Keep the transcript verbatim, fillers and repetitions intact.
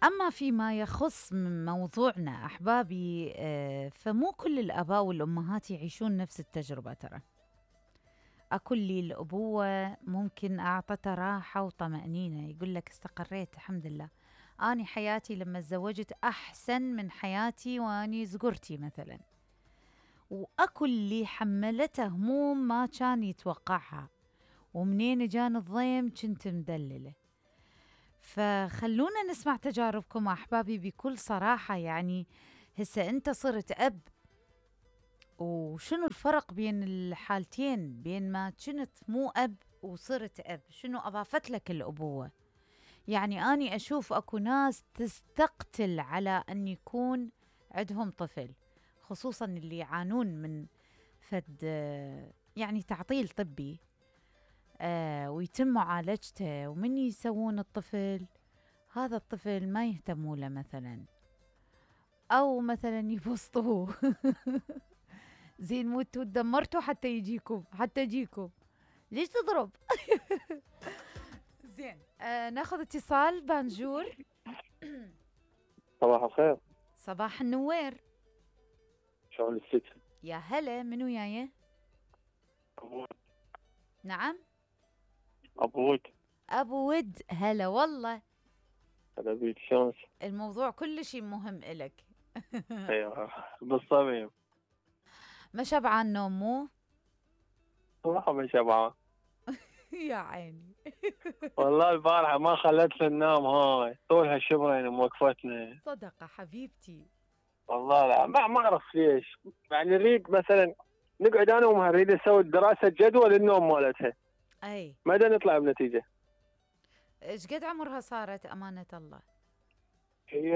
أما فيما يخص من موضوعنا أحبابي، آه، فمو كل الآباء والأمهات يعيشون نفس التجربة. ترى أكو اللي الأبوة ممكن أعطته راحة وطمأنينة، يقول لك استقريت الحمد لله، أني حياتي لما تزوجت أحسن من حياتي وأني زقرتي مثلا. وأكو اللي حملته هموم ما كان يتوقعها، ومنين جان الضيم كنت مدللة. فخلونا نسمع تجاربكم أحبابي بكل صراحة. يعني هسه أنت صرت أب، وشنو الفرق بين الحالتين، بين ما كنت مو أب وصرت أب؟ شنو أضافت لك الأبوة؟ يعني أني أشوف أكو ناس تستقتل على أن يكون عندهم طفل، خصوصا اللي يعانون من فد يعني تعطيل طبي، آه ويتم معالجته، ومن يسوون الطفل هذا الطفل ما يهتموا له مثلا، أو مثلا يبسطوه زين موتوا دمرتوا حتى يجيكم، حتى يجيكم ليش تضرب؟ زين، آه ناخذ اتصال. بانجور. صباح الخير. صباح النوير. شلون الست؟ يا هلا، منو وياي؟ أبو نعم، أبو ود. أبو ود، هلا والله. هلا بيك، شلونك؟ الموضوع كل شيء مهم إلك. ايوه بالصميم. ما شبعان نوم مو؟ صراحة ما شبعان. يا عيني. والله البارحة ما خلتنا ننام، هاي طولها شبرين موقفتنا. صدقة حبيبتي. والله لا، ما ما اعرف ليش. يعني نريد مثلا نقعد انا وامها نريد نسوي دراسة جدوى للنوم مالتها، اي ما دا نطلع بنتيجة. ايش قد عمرها صارت امانة الله؟ هي